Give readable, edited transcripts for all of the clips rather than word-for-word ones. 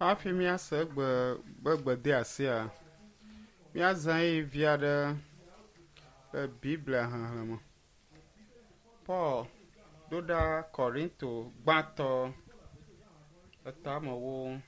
Hafi míase egbe be gbedeasia, míazã ɣeyiɣi vi aɖe le Biblia xexlẽ me. Paul ɖo ɖa Korinto gbãtɔ etamewo.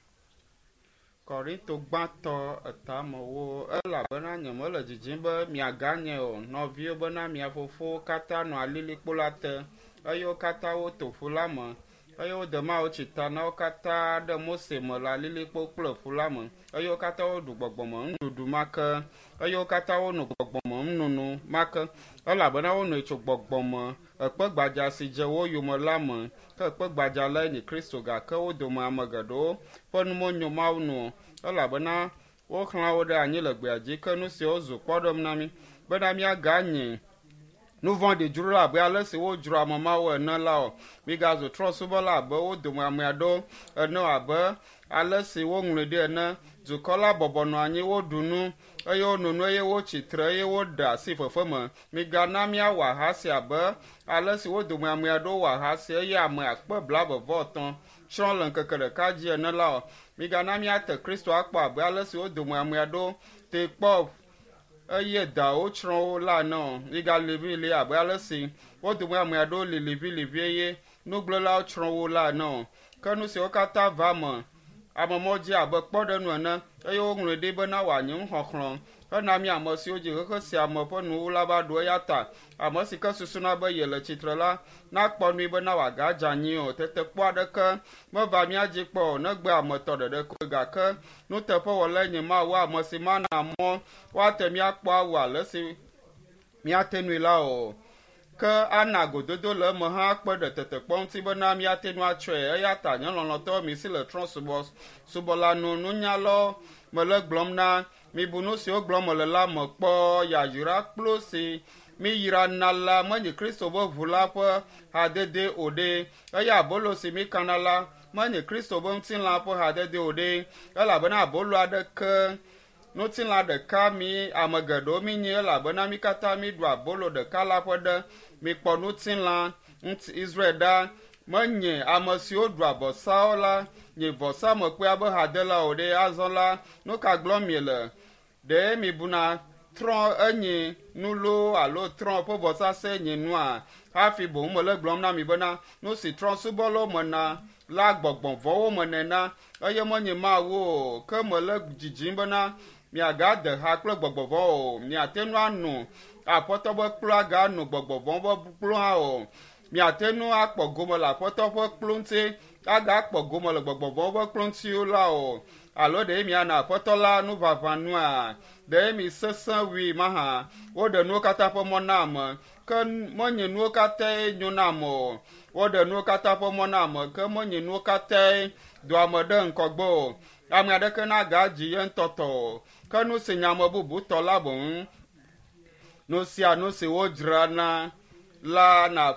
Korinto gbãtɔ etamewo elabena nyemele didim be miaganye o, nɔviwo bena mia fofowo katã nɔ alilikpo la te eye wo katã woto ƒu la me eye wode Mawu tsi ta na wo katã ɖe Mose me le alilikpo kple ƒu la me eye wo katã woɖu gbɔgbɔme nuɖuɖu ma ke eye wo katã wono gbɔgbɔme nunono ma ke elabena wonoe tso gbɔgbɔme ekpe gbadza si dze wo yome la me ke ekpe gbadza lae nye Kristo gake wo dome ame geɖewo ƒe nu menyo Mawu nu o elabena woxlã wo ɖe anyi le gbea dzi ke nu siawo zu kpɔɖeŋu na mí bena míaganye nu vɔ̃ɖi dzro abe ale si wodzro ame mawo ene la o. Migazu trɔ̃subɔla abe wo dome ame aɖewo ene o abe ale si woŋlɔe ɖi ene. Dukɔ la bɔbɔ nɔ anyi, woɖu nu eye wono nu eye wotsi tre eye woɖe asi fefe me. Migana míawɔ ahasi abe ale si wo dome ame aɖewo wɔ ahasi eye ame akpe blaeve-vɔ-etɔ̃ tsrɔ̃ le ŋkeke ɖeka dzi ene la o. Migana míate Kristo akpɔ abe ale si wo dome ame aɖewo tee kpɔ eye dawo tsrɔ̃ wo la ene o. Migali abe ale si wo dome ame aɖewo li liʋiliʋi eye nugblẽlawo tsrɔ̃ wo la ene o. Ke nu siwo katã va eme amemɔ dzi abe kpɔɖeŋu ene eye woŋlɔe ɖi bena wòanye nuxɔxlɔ̃ hena mí ame siwo dzi xexe sia me ƒe nuwuwu la va ɖo eya ta ame si ke susuna be yele tsitre la nakpɔ nui bena wòagadze anyi o. Tetekpɔ aɖeke meva mía dzi kpɔ o negbe ame tɔ ɖeɖe koe gake nuteƒewɔlae nye Mawu ame si mana mɔ woate míakpɔ awu ale si míate nui la o. Ke ana gododo le eme hã akpe ɖe tetekpɔ ŋuti bena míate ŋu atsɔe eya ta nye lɔlɔ̃tɔ mi si le trɔ̃ subɔla nu nunyalawo mele gblɔm na mibu nu siwo gblɔm mele la me kpɔ yayra kplu si míyrana la menye Kristo ƒe ʋu la ƒe hadede o ɖe eye abolo si míkana la menye Kristo ƒe ŋutilã ƒe hadede o ɖe elabena abolo aɖeke ŋutilã ɖeka mi ame geɖewo míenyi elabena mí katã míɖu abolo ɖeka la ƒe ɖe. Mikpɔ ŋutilã ŋuti Israel ɖa menye ame siwo ɖua vɔsawo la nye vɔsamlekpuia ƒe hadela o ɖe. Azɔ la, nu ka gblɔm miele? Ɖe mibuna trɔ̃ enye nu loo alo trɔ̃ ƒe vɔsasa enye nua? Hafi boŋ mele gblɔm na mi bena nu si trɔ̃subɔlawo mena la gbɔgbɔ vɔ̃wo menɛ na eye menye Mawu o. Ke mele dzidzim bena miagade ha kple gbɔgbɔ vɔ̃wo o. Miate ŋu ano Aƒetɔ ƒe kplu agano gbɔgbɔ vɔ̃ ƒe kplu hã o. Miate ŋu akpɔ gome le Aƒetɔ ƒe kplu ŋuti agakpɔ gome le gbɔgbɔ vɔ̃ ƒe kplu ŋuti la o. Alo ɖe miana Aƒetɔ la nuʋaʋã nua? Ɖe mi sesẽ wui mahã? Woɖe nuwo katã ƒe mɔ na ame, ke menye nuwo katãe nyo na ame o. Woɖe nuwo katã ƒe mɔ na ame, ke menye nuwo katãe doa ame ɖe ŋgɔgbe o. Ame aɖeke nagadzi ye ŋutɔ tɔ o, ke nu si nye ame bubu tɔ la boŋ. Nu sia nu si wodzrana la na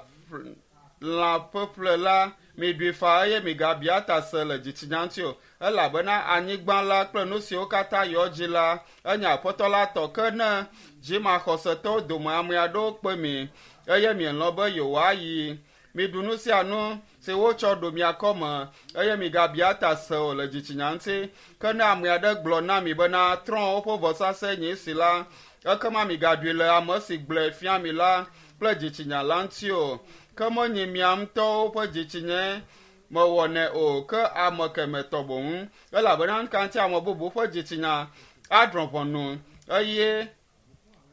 lã ƒeƒle la, miɖui faa eye migabia ta se le dzitsinya ŋuti o elabena anyigba la kple nu siwo katã yɔ dzi la enye Aƒetɔ la tɔ. Ke ne dzimaxɔsetɔwo dome ame aɖewo kpe mi eye mielɔ̃ be yewoayi, miɖu nu sia nu si wotsɔ ɖo mia kɔme eye migabia ta se o le dzitsinya ŋuti. Ke ne ame aɖe gblɔ na mi bena trɔ̃wo ƒe vɔsasa nye esi la, ekema migaɖui le ame si gblɔe fia mi la kple dzitsinya la ŋuti o. Ke menye mia ŋutɔwo ƒe dzitsinyae mewɔnɛ o ke ame kemɛ tɔ boŋ elabena nu ka ŋuti ame bubu ƒe dzitsinya adrɔ̃ ʋɔnu eye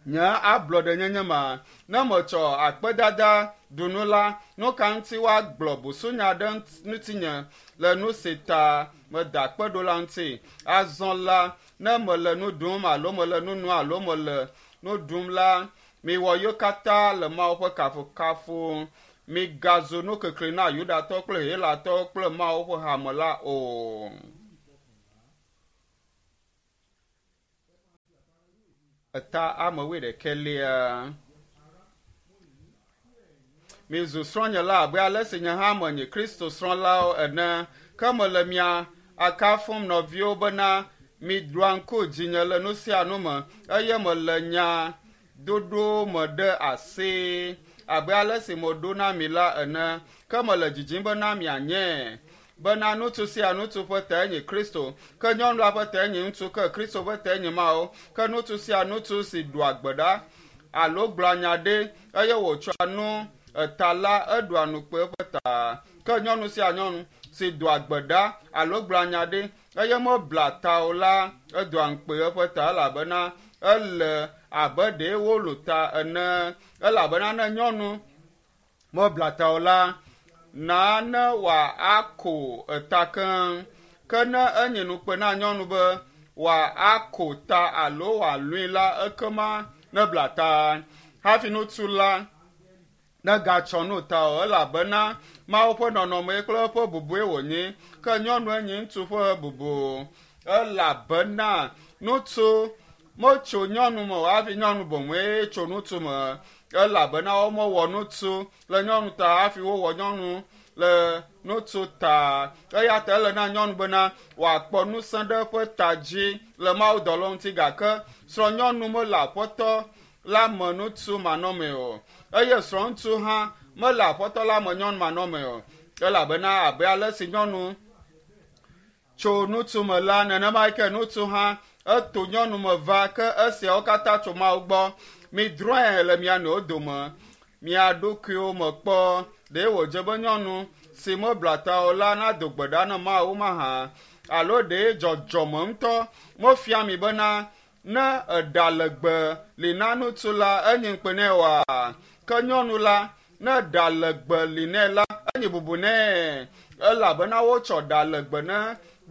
nye ablɔɖenyenye ma? Ne metsɔ akpedada ɖu nu la, nu ka ŋuti woagblɔ busunya ɖe ŋutinye le nu si ta meda akpe ɖo la ŋuti? Azɔ la, ne mele nu ɖum alo mele nu nom alo mele nu ɖum la, miwɔ yewo katã le Mawu ƒe kafukafu. Migazu nukikli na Yudatɔwo kple Helatɔwo kple Mawu ƒe hame la o. Eta ame wuiɖekɛlia. Mizu srɔ̃nyela abe ale si nye hã menye Kristo srɔ̃lawo ene. Ke mele mia akafum nɔviwo bena miɖoa ŋku dzinye le nu sia nu me eye mele nya dodo me ɖe asi abe ale si meɖo na mi la ene. Ke mele dzidzim bena mianye. bena ŋutsu sia ŋutsu ƒe tae nye Kristo, ke nyɔnu la ƒe tae nye ŋutsu, ke Kristo ƒe tae nye Mawu. Ke ŋutsu sia ŋutsu si ɖua gbe ɖa alo gblɔa nya ɖe eye wòtsɔa nu eta la, eɖua nukpe eƒe ta. Ke nyɔnu sia nyɔnu si doa gbe ɖa alo gblɔa nya ɖe eye mebla ta o la, edoa ŋukpe eƒe ta elabena ele abe ɖe wolu ta ene. Elabena ne nyɔnu mebla ta o la, nane wòako eta keŋ. Ke ne enye nukpe na nyɔnu be wòako ta alo wòalũi la, ekema nebla ta. Hafi ŋutsu la negatsɔ nu ta o, elabena Mawu ƒe nɔnɔme kple eƒe bubue wònye, ke nyɔnue nye ŋutsu ƒe bubu. Elabena ŋutsu metso nyɔnu me o hafi nyɔnu boŋue tso ŋutsu me, elabena womewɔ ŋutsu le nyɔnu ta hafi wowɔ nyɔnu le ŋutsu ta. Eya ta ele na nyɔnu bena wòakpɔ ŋusẽ ɖe eƒe ta dzi le mawudɔlawo ŋuti gake srɔ̃nyɔnu mele aƒetɔ la me ŋutsu manɔmee o eye srɔ̃ŋutsu hã mele aƒetɔ la me nyɔnu manɔmee o elabena abe ale si nyɔnu tso ŋutsu me la, nenema ke ŋutsu hã eto nyɔnu me va ke esiawo katã tso Mawu gbɔ. Midrɔ̃e le mia nɔewo dome, mia ɖokuiwo me kpɔ. Ɖe wòdze be nyɔnu si mebla ta o la nado gbe ɖa na Mawu mahã? Alo ɖe dzɔdzɔme ŋutɔ mefia mi bena ne eɖa legbe li na ŋutsu la, enye ŋukpe nɛ oa? Ke nyɔnu la, ne ɖa legbe li nɛ la, enye bubu nɛ, elabena wotsɔ ɖa legbe ne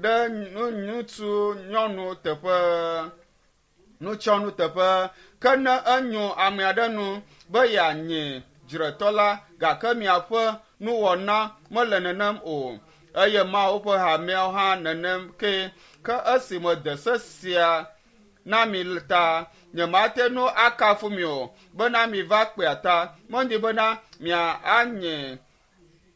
ɖe ŋutsu nyɔnu teƒe, nutsyɔnu teƒe. Ke ne enyo ame aɖe nu be yeanye dzretɔ la, gake miaƒe nuwɔna mele nenem o, eye Mawu ƒe hameawo hã nenem ke. Ke esi mede se sia na mi ta, nyemate ŋu akafu mi o, bena miva kpea ta. Menye bena mianye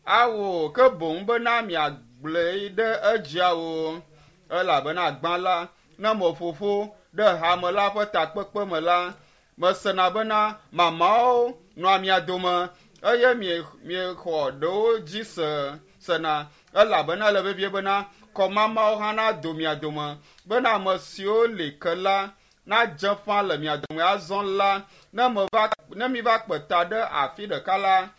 awo, ke boŋ bena miagblɔe ɖe edziawo. Elabena gbã la, ne meƒo ƒu ɖe hame la ƒe takpekpe me la, mesena bena mamawo nɔa mia dome eye miexɔ ɖewo dzi se sena elabena ele vevie bena kɔmamawo hã nado mia dome bena ame siwo li ke la nadze ƒã le mia dome. Azɔ la, ne meva ne miva kpe ta ɖe afi ɖeka la,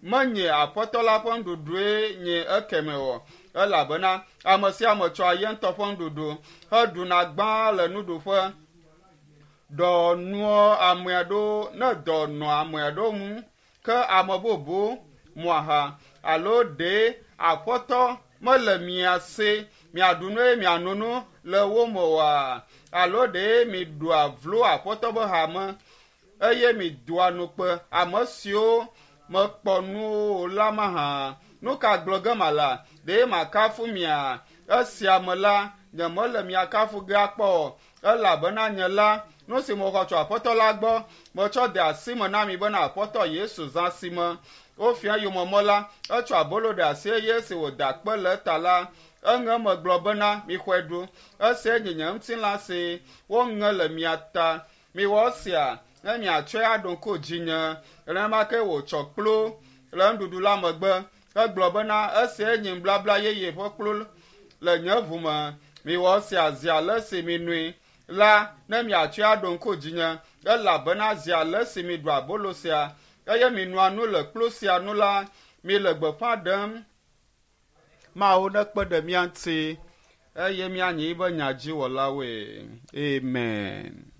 menye Aƒetɔ la ƒe nuɖuɖue nye ekeme o, elabena ame sia ame tsɔa ye ŋutɔ ƒe nuɖuɖu heɖuna gbã le nuɖuƒe. Dɔ nua ame aɖewo ne dɔ nɔ ame aɖewo ŋu ke ame bubu mu aha alo ɖe Aƒetɔ mele mia si miaɖu nu eye miano nu le wo me oa? Alo ɖe miɖua vlo Aƒetɔ ƒe hame eye midoa nukpe ame siwo mekpɔ nu o la mahã? Nu ka gblɔ ge mala? Ɖe makafu mia? Esia me la, nyemele mia kafu ge akpɔ o, elabena nye la, nu si mexɔ tso Aƒetɔ la gbɔ, metsɔ de asi me na mi bena Aƒetɔ Yesu zã si me wofia yomemɔ la, etsɔ abolo ɖe asi eye esi wòda akpe le eta la, eŋe eme gblɔ bena, Mixɔe ɖu, esiae nye nye ŋutilã si woŋe le mia ta. Miwɔ esia ne miatsɔe aɖo ŋku dzinye. Nenema ke wòtsɔ kplu le nuɖuɖu la megbe hegblɔ bena, Esiae nye nubabla yeye ƒe kplu le nye ʋu me. Miwɔ esia zi ale si minoe la, ne miatsɔe aɖo ŋku dzinye. Elabena zi ale si miɖua abolo sia, eye minoa nu le kplu sia nu la, mile gbeƒã ɖem Mawu nekpe ɖe mía ŋuti eye míanyi eƒe nyadziwɔlawoe. Amen.